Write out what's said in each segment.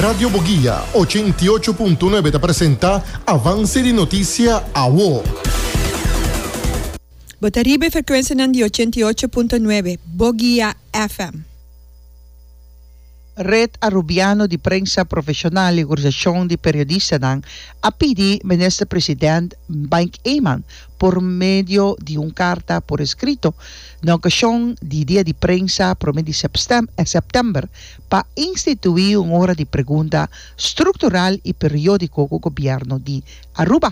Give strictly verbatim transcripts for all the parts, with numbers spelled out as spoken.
Radio Boguia ochenta i ocho punto nuebe ta presenta Avance di Noticia Awo. Bo ta riba frecuencia di ochenta i ocho punto nuebe, Boguia F M. Red Arubiano di Prensa Profesional y Organisacion di Periodistanan a pidi Minister President Mike Eman por medio di un carta por escrito na ocasion di Dia di Prensa prome di september pa institui un ora di pregunta structural y periodico cu gobierno di Aruba.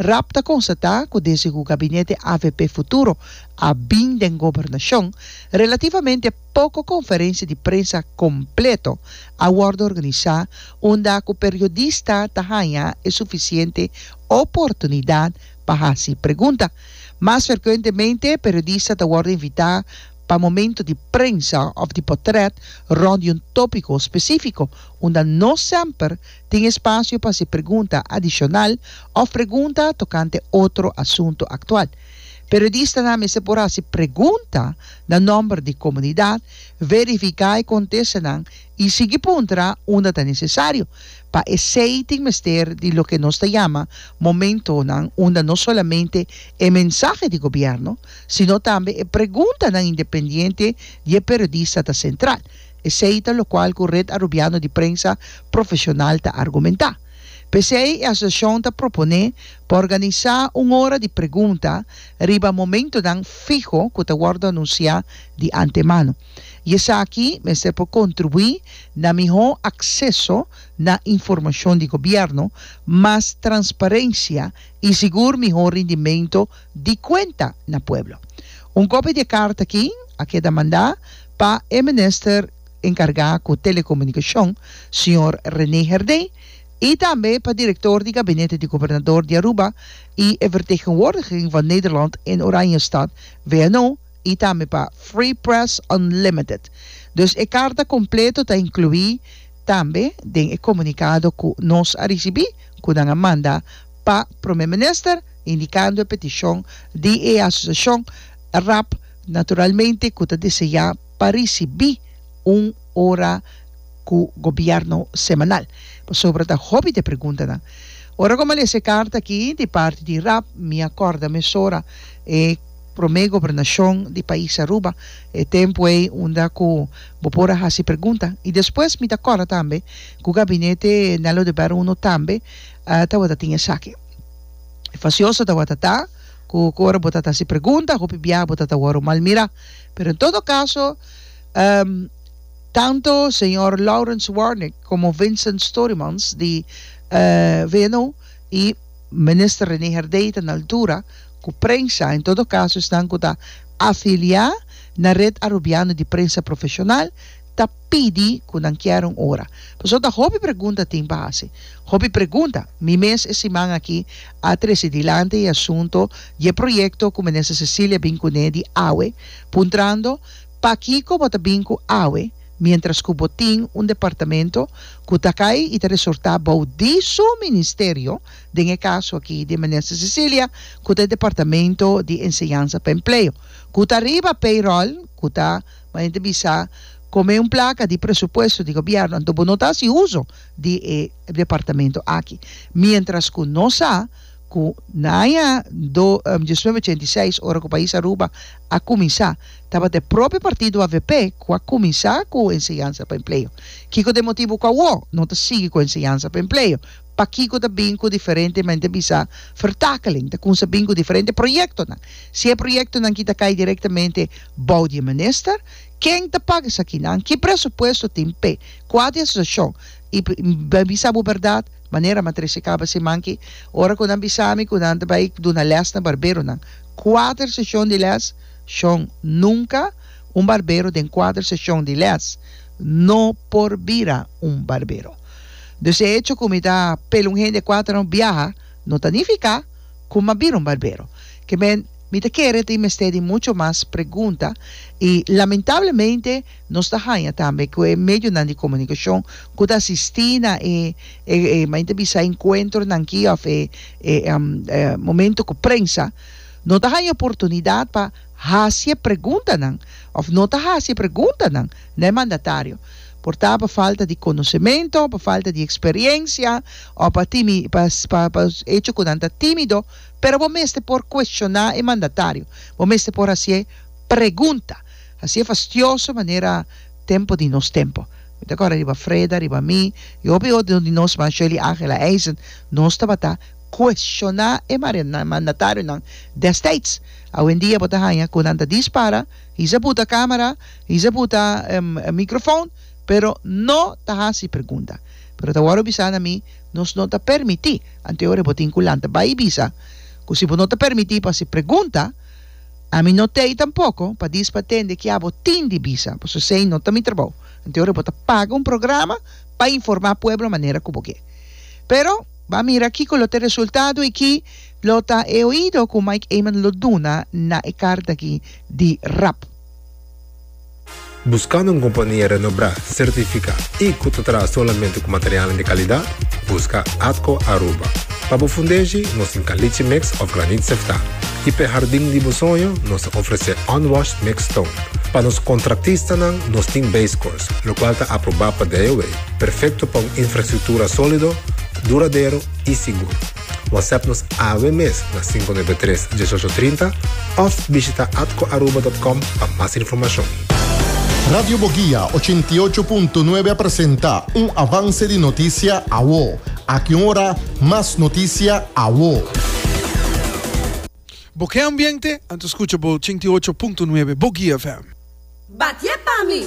R A P ta constata cu desde cu gabinete A V P Futuro a bin den gobernacion, relativamente poco conferencia di prensa completo a wordo organisa unda cu periodista ta haya e suficiente oportunidad pa haci pregunta. Mas frecuentemente, periodista ta wordo invita pa momento di prensa of di portret rond di un topico specifico, unda no semper tin espacio pa haci pregunta adicional of pregunta tocante otro asunto actual. Periodistanan mester por haci pregunta na nomber di comunidad, verifica e contestanan y sigui puntra unda ta necesario. Pa esey tin mester di loke nos ta yama momentonan unda no solamente e mensahe di gobierno, sino tambe e preguntanan independiente di periodista ta central. Esey ta loke cu Red Arubiano di Prensa Profesional ta argumenta. P'esey, e asociacion ta propone pa organisa un ora di pregunta riba momentonan fiho cu ta wordo anuncia di antemano. Y esaki mester por contribui na miho acceso na informacion di gobierno, mas transparencia y sigur miho rendimento di cuenta na pueblo. Un copia di e carta aki a keda manda pa e minister encarga cu telecomunicacion, señor René Herdé, y tambe pa director di gabinete di gobernador di Aruba y e vertegenwoordiging van Nederland in Oranjestad, V N O, y tambe pa Free Press Unlimited. Dus e carta completo ta inclui tambe den e comunicado cu nos a ricibi, cu nan a manda pa Prome Minister, indicando e peticion di e asociacion R A P, naturalmente, cu ta desea pa ricibi un ora cu gobierno semanal. Sobre ta hopi di preguntanan. Ora cu mi a lesa e carta aki di parti di R A P, mi a corda mesora e prome gobernacion di pais Aruba, e tempo ey unda cu bo por a haci pregunta. Y despues mi ta corda tambe cu gabinete Nelo de Beruno tambe uh, tawata tin esaki. Facioso tawata ta cu ora bo ta haci pregunta, hopi bia bo ta wordo mal mira. Pero en todo caso, um, tanto señor Lawrence Warnick como Vincent Storymans di uh, V N O y minister René Herdé ta na altura cu prensa, en todo caso, esnan cu ta afilia na Red Arubiano di Prensa Profesional, ta pidi cu nan kier un ora. Pasobra ta hopi pregunta tin pa haci. Hopi pregunta. Mi mes e siman aki a trece dilanti e asunto di proyecto cu minister Cecilia a bin cune di awe, puntrando pakico bo ta bin cu awe, mientras cu bo tin un departamento cu ta cay y ta resorta bou di su ministerio, den e caso aki di minister Cecilia, cu ta departamento di enseñansa pa empleo. Cu ta riba payroll, cu ta, manera bisa, come un placa di presupuesto di gobierno, anto no ta haci uso di e departamento aki. Mientras cu nos sa cu na aña do um, mil novecientos ochenta i seis, ora cu pais Aruba a cuminsa, tabata e propio partido A V P cu a cuminsa cu enseñansa pa empleo. Kico ta e motibo cu awo no ta sigui cu enseñansa pa empleo? Pakico ta bin cu diferente mente bisa vertakeling, ta cuminsa bin cu diferente proyectonan? Si e proyectonan aki ta cay directamente bou di minister, ken ta paga esakinan? Ki presupuesto tin p'e? Cua ta e asociacion? Y bisa bo berdad, manera m'a trece caba siman aki, ora cu nan bisami cu nan bay duna les na barberonan. Cuater sesion di les, shon, nunca un barbero den cuater sesion di les no por bira un barbero. Dus e hecho cu mi ta pela un hende cuater biaha, no ta nifica cu m'a bira un barbero. Kiermen, mi ta kere tin mester di mucho mas pregunta y lamentablemente nos ta haya tambe cu e medionan di comunicacion cu ta asisti na e e e manera bisa encuentronan aki of e, e, um, e momento cu prensa no ta haya oportunidad pa haci preguntanan of no ta haci preguntanan na mandatario. Por ta pa falta di konosementu, pa falta di eksperensia, òf pa timi, pa, pa, pa echo ku nan ta tímido, pero bo mester por kuestioná e mandatario. Bo mester por hasi pregunta. Hasié fastioso manera tempu di Nos Tempu. Mi ta kòrda riba Freda, riba mi, i hopi otro di nos, man Shirley Angela Eisen, nos tabata kuestioná e mandatarionan destijds. Awendia bo ta haña ku nan ta dispara, hisa buta kámara, hisa buta mikrofon, pero no ta hasi pregunta. Pero ta wòrdu bisa na mi, nos no ta permití. Anto e ora bo tin ku lanta bai i bisa ku si bo no ta permití pa hasi pregunta, ami no t'ei tampoko pa dis pa tende ke abo tin di bisa, pasobra esei no ta mi trabou. Anto e ora bo ta paga un programa pa informá pueblo manera ku bo ke. Pero, ba mira kiko lo ta e resultado i ki lo ta e oido ku Mike Eman lo duna na e karta aki di rap. Buscando un compania renombra, certifica y cu ta traha solamente cu materialnan di calidad? Busca Atco Aruba. Pa bo fundeshi, nos tin caliche mix of granit sefta. Y p'e hardin di bo soño, nos ta ofrece unwashed mixed stone. Pa nos contractistanan, nos tin base course, locual ta aproba pa D O W, perfecto pa un infrastructura solido, duradero y sigur. WhatsApp nos awe mes na sinku nuebe tres diesocho trinta of bishita atco aruba dot com pa mas informacion. Radio Boguia ochenta i ocho punto nuebe a presenta un avance di noticia awo. Aki un ora mas noticia awo. Bo ke ambiente? Anto scucha bo ochenta i ocho punto nuebe Boguia F M. Batié pa mi!